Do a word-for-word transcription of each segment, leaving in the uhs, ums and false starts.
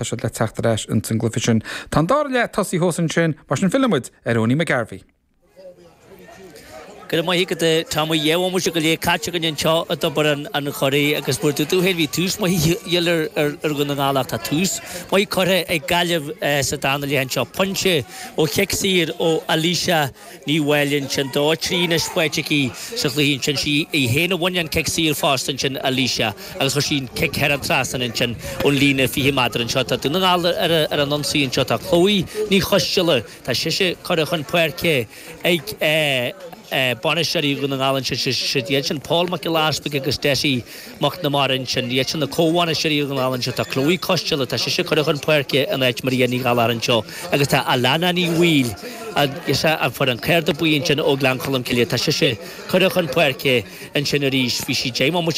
tá siad le teacht ar ais ins an gcluiche sin. Tá an dara leath tosaithe thuas ansin mar sin fillfimid ar Owenie McGarvey. Go maith go tá dhéha go lé caiite go anseo i dTobar an Choire agus mar tú bhí tús maith ar ar Dhún na nGall tá tús maith curtha ag Gaillimh sa dara leath anseo pointe ó chic saor ó Alicia Ní Mhaoilinn sin dó trí anois faighte aici sa chluiche sin sí í féin a bhain an cic saor fosta sin Alicia agus chuir sí cic thar an trasnán ansin ón líne fiche méadar anseo tá Dún na nGall ar ar an ionsaí anseo tá Chloe Ní Choisdealbha tá sise curtha chun páirce ag bainisteoirí Dhún na nGall sin iad sin Paul Mac Gillespie agus Dessie Mac na Marin sin iad sin na comhbhainisteoirí Dhún na nGall anseo tá Chloe Costello tá sise curtha chun páirce in áit Maria Ní Ghalar anseo agus tá Alana Ní Bhaoill is an fuair an cárta buí ansin ó Ghleann Cholm Cille tá sise curtha chun páirce ansin arís bhí sí déma mu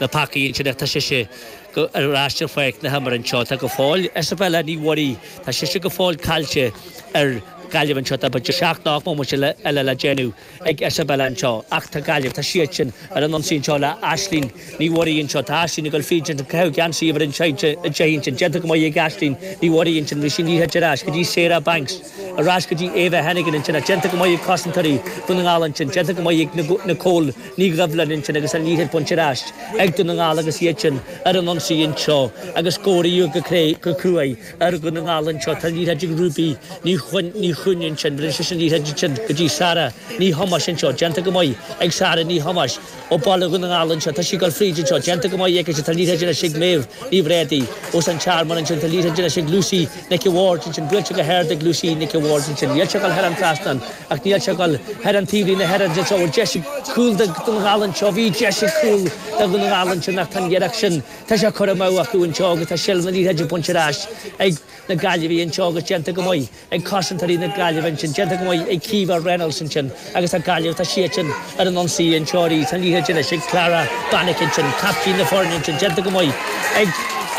na pacaí ansin tá sise ar ais ar pháirc na himeartha anseo tá go fóill Isabella Ní Mhuirí tá sise go fóill caillte ar Gaillimh anseo tá b'fhéidir seacht nó ocht eile le déanamh ag Isabella anseo ach tá Gaillimh tá siad sin ar an ionsaí anseo le Aisling Ní Mhuirí anseo tá Aisling ag dul fríd an caitheamh geansaí ar an sin sin déanta go maith ag Aisling Ní Mhuirí ansin bhí sin ní ar ais go dtí Sarah Banks ar ais go dtí Eva Hennigan ansin déanta go maith ag cosantóirí Dhún na nGall ansin déanta go maith ag Nicole Ní Dhoibhlin ansin agus an liathróid bainte ar ais ag Dún na nGall agus iad sin ar an ionsaí anseo agus scóráil go cré go cruaidh ar Dhún na nGall anseo tá liathróid ag Ruby ní ní chuin sin bhí sin liathróid sin go dtí Sara Ní Thomáis anseo déanta go maith ag Sara Ní Thomáis ó baile Dhún na nGall anseo tá sí ag dul fríd anseo déanta go maith ag tá liathróid ag Méabh Ní Bhréadaí os an Tearmann ansin tá liathróid ag Lucy Nic Ward ansin buailte go hard ag Lucy Nic Ward ansin níl sé ag dul thar an trasnán ach níl sé ag dul thar an taobhlíne thar an seo deis cúl Dún na nGall anseo bhí deis cúl Dún na nGall ansin ach tá iarracht sin tá sé curtha amú acu anseo agus tá seilbh na liathróide bainte ar ais ag na Gaillimhigh anseo agus déanta go maith ag cosantóirí na Gaillimhe ansin déanta go maith ag Kiva Reynolds ansin agus a Gaillimh tá siad sin ar an ionsaí anseo tá liathróid anois ag Clara Bannick ansin captaen na foirne ansin déanta go maith ag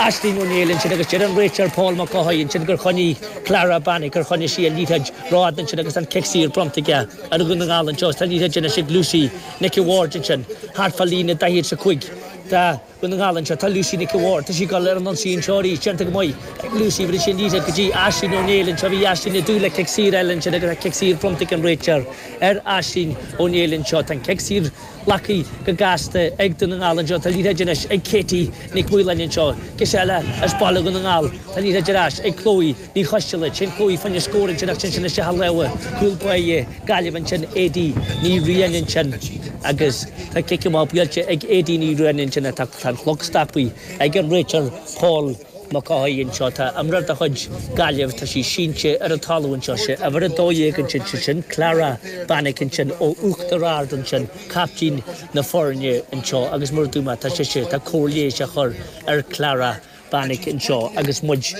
Aisling O'Neill ansin agus deir an réiteoir Paul McCoy ansin gur choinnigh Clara Bannick gur choinnigh sí an liathróid rófhada ansin agus an cic saor bronnta aige ar Dhún na nGall anseo tá liathróid anois ag Lucy Nic Ward ansin thart fá líne daichead is a cúig Tá Dún na nGall anseo tá Lucy Nic Ward tá sí ag dul ar an ionsaí anseo arís déanta go maith ag Lucy bhí sin líte go dtí Aisling O'Neill anseo bhí Aisling ag dúil le cic saor eile ansin agus cic saor bronnta ag an réiteoir ar Aisling O'Neill anseo tá cic saor glactha go gasta ag Dún na nGall anseo tá liathróid anois ag Katie Nic Mhaoláin anseo cis eile as baile Dhún na nGall Tá liathróid ar ais ag Chloe Ní Choisdealbha sin Chloe fan scór ansin ach sin sin se lewe cúl báire Gaillimh ansin Aidí Ní Riain ansin agus tá cic amach buailte ag Aidí Ní Riain ansin tá an clog stoptha ag an réiteoir Paul McCoy anseo tá imreoir de chuid Gaillimh tá sí sínte ar an talamh anseo sé uimhir a dó dhéag ansin sin sin Clara Bannick ansin ó Uachtar Ard ansin captaen na foirne anseo agus mar dúma tá sé sé tá cóir leighis á chur ar Clara Bannick anseo agus muid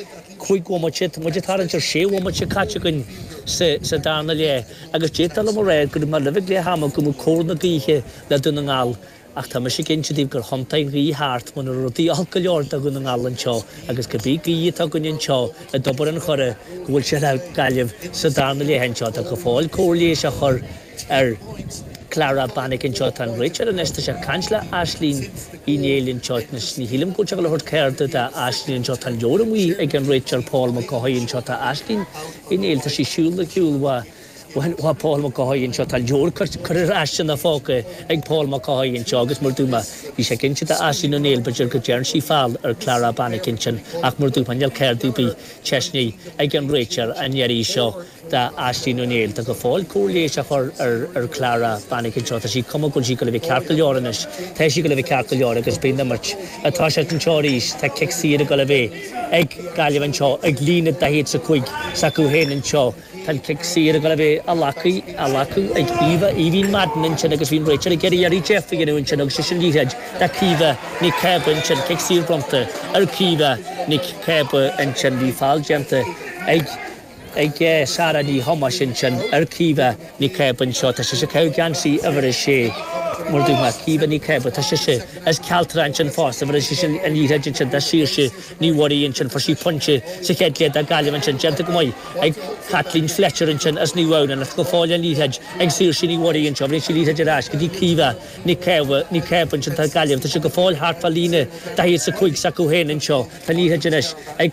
cúig bhomaite muid tar an sé bhomaite caite againn sa sa darna leath agus détal am ré go mar leh le hama go cóir na gaoithe le Dún na nGall ach tá mise cinnte díobh gur thiontaigh an ghaoth thart muna rudaí olc go leor do Dhún na nGall anseo agus go bí gaoth atá againn anseo i dTobar an Choire go bhfuil sé le Gaillimh sa darna leath anseo tá go fóill cóir leighis á chur ar Clara Bannick anseo tá an réiteoir anois tá sé ag caint le Aisling Uí Néill anseo ní shílim go bhfuil le cárta d'Aisling anseo tá leor amuigh ag an réiteoir Paul McCoy anseo tá Aisling Uí Néill tá sí siúl le ciúl Bha Paul McCoy anseo tá leor chur ar ais na fáca ag Paul McCoy anseo agus mar dúma bhí sé cinnte d'Aisling O'Neill b'fhéidir go dtearn sí feall ar Clara Bannick ansin ach mar dúma níl cárta ar bith teisní ag an réiteoir an iarraidh seo d'Aisling O'Neill Tá go fóill cóir leighis á chur ar ar Clara Bannick anseo tá sí cuma go bhfuil sí go le bheith ceart go leor anois Tá sí go le bheith ceart go leor agus bíonn imirt atá sé anseo arís tá cic saor go le bheith ag Gaillimh anseo ag líne daichead is a cúig s'acu féin anseo Tá cic saor go le bheith á ghlacadh á ghlacadh ag Eva Eveen Madden ansin agus bhí'n réiteoir ag iarraidh iarraidh Jeff a dhéanamh ansin agus sin liathróid de Caoimhe Nic Cába ansin cic saor bronnta ar Caoimhe Nic Cába ansin bhí feall déanta ag ag Sara Ní Thomáis ansin ar Caoimhe Nic Cába anseo tá sé se caitheamh geansaí uimhir a sé mar dúma Caoimhe Nic Cába tá sé se as Cealtra ansin fosta mar sé sin an liathróid ansin de Saoirse Ní Mhuirí ansin fuair sí pointe sa chéad leath do Gaillimh ansin déanta go maith ag Kathleen Fletcher ansin as Naomh Adhamhnáin go fóill an liathróid ag Saoirse Ní Mhuirí anseo bhí sí liathróid ar ais go dtí Caoimhe Nic Cába Nic Cába ansin tá Gaillimh tá sé go fóill thart fá líne daichead is a cúig s'acu féin anseo tá liathróid anois ag